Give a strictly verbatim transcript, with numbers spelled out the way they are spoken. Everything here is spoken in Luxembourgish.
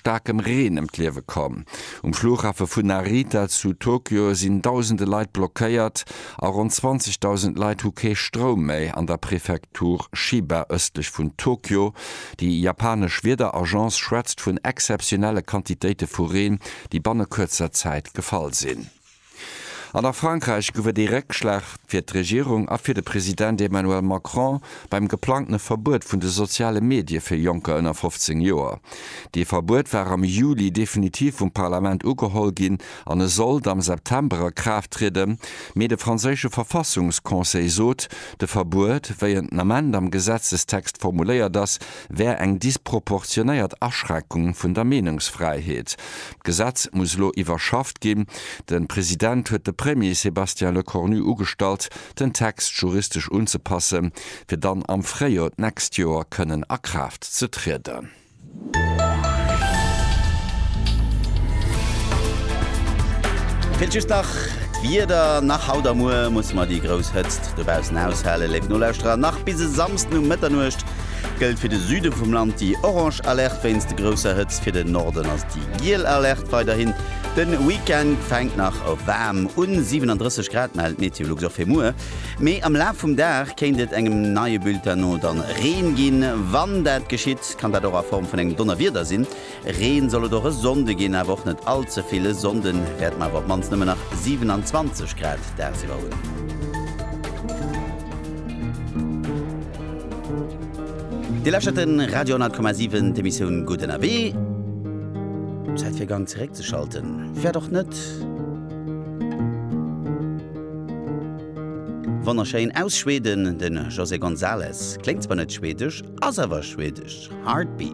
staarkem Reen ëm d'Liewe komm. Um Flughafe vun Narita zu Tokio sinn dausende Leit blockéiert a ronn zwanzegdausend Leit hu kee Stroum méi an der Prefektur Chiba ëstlech vun Tokio. Déi japanesch Wiederagence schwätzt vun exzeptionelle Quantitéite vu Reen, déi banne kuerzer Zäit gefall sinn. An a Frankräich gouf et ee Réckschlag fir d'Regierung a fir de President Emmanuel Macron beim geplangtene Verbuet vun de soziale Medie fir Jonker ënner fofzéng Joer. Dee Verbuet war am Juli definitiv vum Parlament ugeholl ginn an e sollt am September a Kraaft trieden. Mee de franséische Verfassungsconseil sot, de Verbuet, wéi en den Ament am Gesetzestext formuléiert ass, wär eng disproportionéiert Aschränkung vun der Meenungsfräiheet. D'Gesetz muss elo iwwerschafft ginn. De President huet de Premier Sébastien Lecornu ugestallt, den Text juristesch unzepassen, fir dann am Fréijoer d'nächst Joer kënnen a Kraaft ze trieden. Feelt just nach d'Wieder. Nach haut a muer musse mer déi grouss Hëtzt dobaussen aushalen, léif Nolauschterer. Nach bis e Samsden um Mëtternuecht gëllt fir de Süde vum Land déi orange Alerte wéinst de grousser Hëtzt. Fir den Norden ass déi giel Alerte weiderhin. De Weekend fänkt nach waarm un, siwenandrësseg Grad mellt Meteolux och fir muer. Mee am Laf vum Dag kéint et engem neie Bulletin no dann Reen ginn. Wann dat geschitt, kann dat och a Form vun engem Donnerwieder sinn. Reen soll et och e Sonnde ginn, awer och net all ze vill. E Sonnde wäerte mer awer op d'mannst nëmmen nach siewenanzwanzeg Grad dagsiwwer hunn. Dir lauschtert de Radio honnert Komma siwen, d'Emissioun Gutt ënnerwee. Zäit fir Gang zeréckzeschalten wäert och net wonnerschéin. Aus Schweden, de José González. Kléngt zwar net schwedesch, ass awer schwedesch. Heartbeat.